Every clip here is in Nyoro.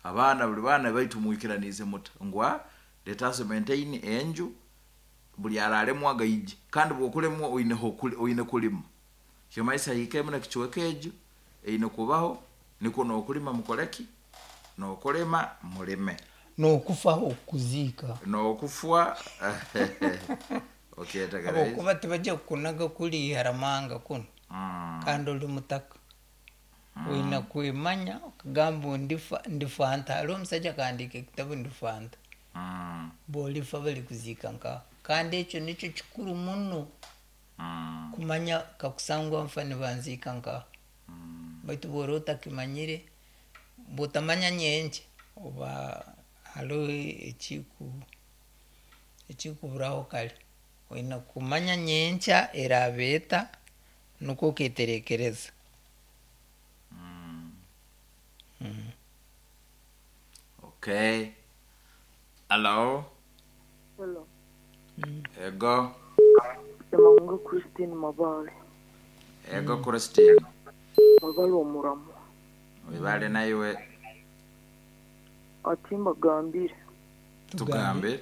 Abaana, buli baana baitu mwikiraniize muta ngu let us maintain enju, buli araalemwa gaije. Kandi bwokulemwa oine kulima, kimaisa hiikemu nekicweka egyo eine kubaho, nikwo nokulima mukoleki, nokulima mulime. N'okufa okuziika. Nokufwa okyetegereza. Habwokuba tibajja kukunaga kuli haramanga kunu kandi oli mutaka. Oina kwemanya okagamba ndifa ndifa nta. Hariho omusaija akahandiika ekitabu Ndifa nta. Bwolifa balikuziika nkaha. Kandi ekyo nikyo kikuru muno kumanya kakusangwa nfa nibanziika nkaha. Baitu bwora otakimanyire, bwotamanya nyenkya oba haroho ekikuburaho kare. Oine kumanya nyenkya eraaba eta nukwo oketerekereza. Okay. Hello. Hello. Ego. Semango Christine Mabale. Ego Christine. Mabale omuramu. Wibale naiwe. Ati mbagambire. Tugambe.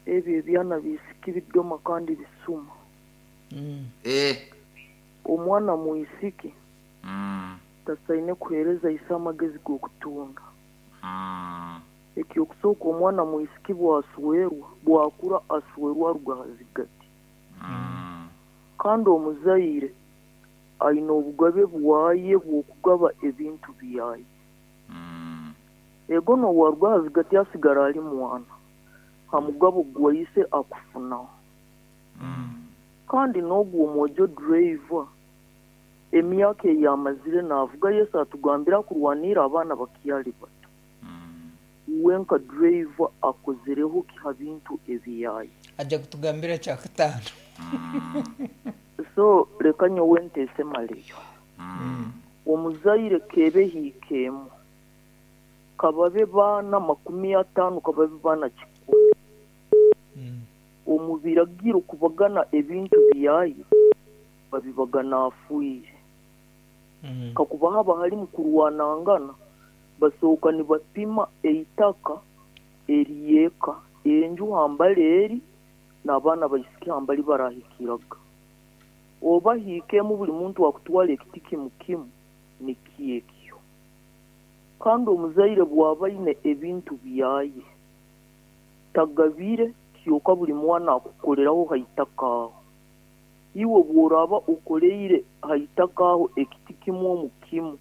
Ebyo ebyana biisiki bidoma kandi bisuma. Omwana mwisiki tasaine kuheereza ise amagezi g'okutunda. Ekyokusooka, omwana mwisiki bwaswerwa, bwakura aswerwa aruga ha zigati. Kandi omuzaire aine obugabe bwaye bw'okugaba ebintu byaye. Ego n'owaruga ha zigati asigara ali mwana, ha mugabo gwa ise akufunaho. Kandi n'ogu omwojo driver, emyaka ei amazire naavuga, Yesu atugambira kurwanira abaana bakyali bato. Uwe nka driver akozereho ki ha bintu ebyaye? Ajja kutugambira kyakataano. So leka nyowe nteese maleyo. Omuzaire keebe hiika emu, kababe baana 50, kababe baana 100. Omu biragiro kubagana ebintu byaye, babibagana afiire. Kakuba haba halimu kurwanangana, basooka nibapima eitaka ery'eka, enju hambali eri, n'abaana baisiki hambali barahikiraga. Oba hiika emu buli muntu akutwara ekiti kimu kimu, nikyo ekyo. Kandi omuzaire bw'aba aine ebintu byaye, tagabire kyoka buli mwana akukoleraho ha itaka aho. Iwe bw'oraaba okoleire ha itaka aho ekiti kimu omu kimu,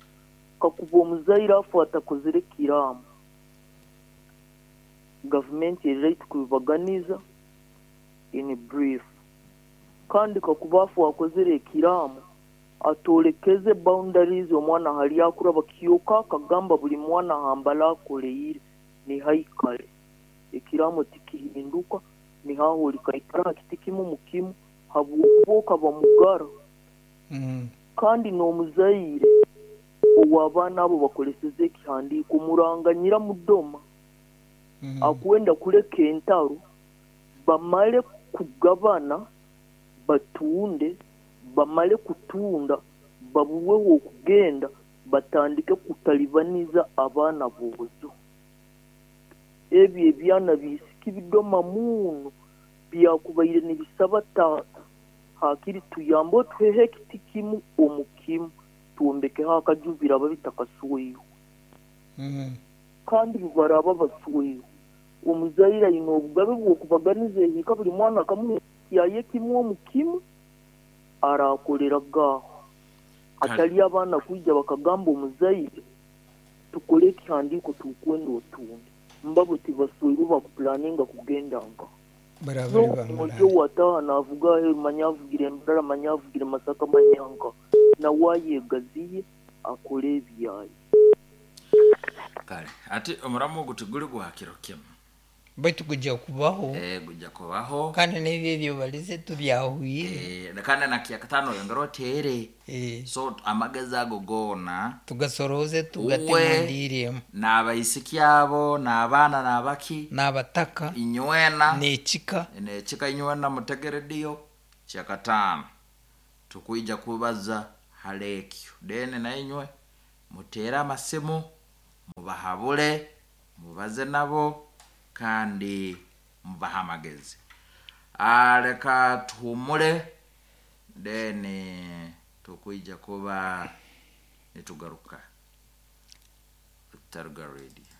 kakuba omuzaire afa atakozere kiraamo, gavumenti eri right kubibaganiza in brief. Kandi kakuba afa akozere ekiraamo, atolekeze boundaries omwana hali akuraba kyoka akagamba buli mwana hambali akoleire nihaikale. Ekiraamo tikihinduka, nihaho olikaikara ha kiti kimu mu kimu habwokuba okaba mugara. Kandi n'omuzaire ow'abaana abo bakoleseze ekihandiiko muranganyira mudoma akwenda kuleka entaro bamale kugabana batunde, bamale kutunda baburweho okugenda batandike kutalibaniza abaana boojo. Ebyo ebyana biisiki bidoma muno byakubaire nibisaba taata hakiri tuyambe otuheho ekiti kimu omu kimu twombekeho akaju biraba bitakasweirwe. Kandi bubaraba basweirwe, omuzaire aine obugabe bw'okubaganiza ehiika buli mwana akamuha yaye kimu omu kimu arakoleraga aho. Atali abaana kwija bakagamba omuzaire tukole ekihandiiko tukwenda otunde. Mbabo tibasweirwe bakupulaninga kugenda nka. N'omwojo wataha naavuga aheeru manya avugire Mbarara, manya avugire Masaka, manya nka. Nawe ayegaziye akole ebyaye. Kale ati omuramu ogu tiguli gwa kiro kimu. Baitu gujja kubaho. Gujja kubaho. Kandi n'ebyo ebyobalize tubyahwire. Kandi na kyakataano oyongere oteere. So amagezi ago goona tugasorooze tugate mu ndiiri emu. N'abaisiki abo, n'abaana n'abaki. N'abataka. Inywena. N'ekika. N'ekika inywena mutege rediyo kyakataano. Tukwija kubaza hali ekyo. Then nainywe muteere amasimu, mubahabule. Mubaze nabo kandi mubahe amagezi. Leka tuhumule, then tukwija kuba nitugaruka. Taruga Radio.